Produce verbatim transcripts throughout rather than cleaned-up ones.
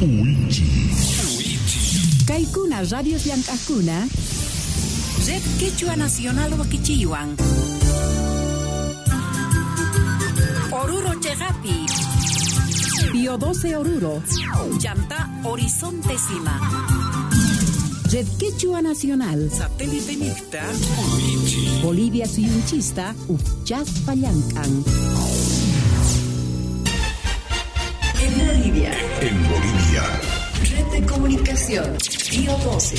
Uichi. Kaykuna radios llank'aqkuna Red Quechua Nacional wakichiywan. Oruro Chegapi. Pío doce Oruro. Chanta Horizonte Sima. Red Quechua Nacional. Satélite Mixta. Bolivia Suyunchista Uchaspa llank'an. En Bolivia. En Bolivia. Red de Comunicación. Pío doce.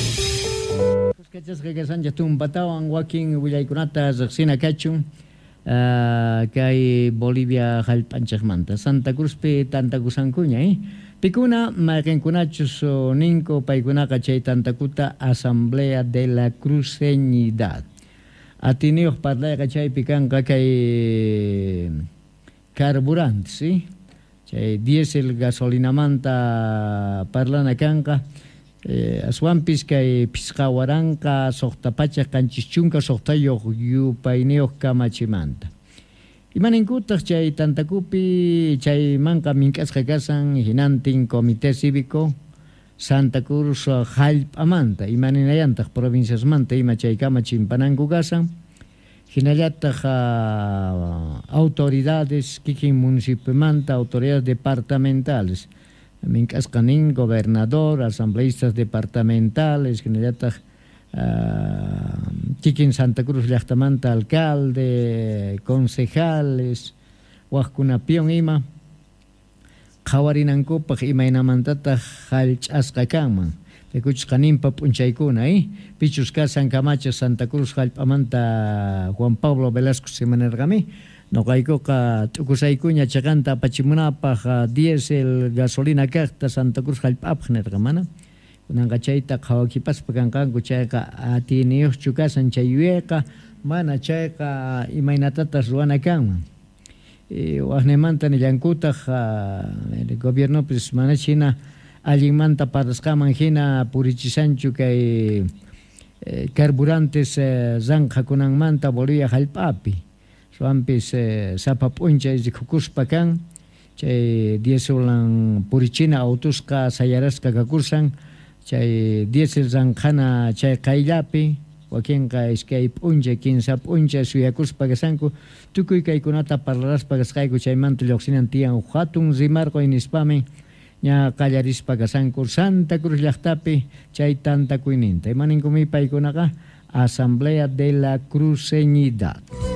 Kachasqa kashanchej tumpatawan wakin willaykunata riqsina kachun uh, kay Bolivia hallp'anchejmanta Santa Cruzpi tantakusankuña eh? Pikuna mayqinkunachus ninku paykunaqa chay tantakuta Asamblea de la Cruceñidad atiniyuq parlayqa chaypi kanqa kay carburantes ¿sí? Chay diésel gasolinamanta parlana kanqa Eh, aswanpis kay pisqa waranqa suqta pachak qanchis chunka suqtayuq yupayniyuq kamachimanta. Imaninkutaq chay tantakupi chaymanqa mink'asqa kasan hinantin Comité Cívico Santa Cruz hallp'amanta imaninayantaq provinciasmanta ima chay kamachimpananku kasan hinallataq uh, autoridades kikin municipiomanta autoridades departamentales mink'asqa nin gobernador, asambleístas departamentales, hinallataq uh, kikin Santa Cruz llaqtamanta alcalde, concejales, waqkunapiwan ima qhawarinankupaq imaynamantataq hallch'asqa kanman. Rikuchisqa ninpa p'unchaykuna, eh? Pichus kasan kamachiq Santa Cruz hallp'amanta Juan Pablo Velasco simanirqami. Noqaykuqa t'ukusaykuña chaqanta apachimunapaq diésel gasolina kaqta Santa Cruz hallp'apaq nirqa mana. Kunanqa chayta qhawakipaspa kanqanku chayqa atiyniyuqchu kasan chay yuyayqa mana chayqa imaynatatas ruwana kanman. E, waqnimanta nillankutaq el gobiernopis mana hina allinmanta parlasqaman hina purichisanchu kay eh, carburantes eh, ranqhakunanmanta Bolivia hallp'api. Suampis eh, sapa p'unchay rikukuspa kan chay dieselan purichina autusqa sayarasqa kakursan chay diésel ranqhana chay qayllapi wakinqa iskay p'unchay kinsa p'unchay suyakuspa kasanku tukuy kaykunata parlaraspa kasqayku chaymanta lluqsinan tiyan hatun rimarquy nispami ña qallarispa kasanku Santa Cruz llaqtapi chay tantakuyninta imaninkumi paykunaqa Asamblea de la Cruceñidad.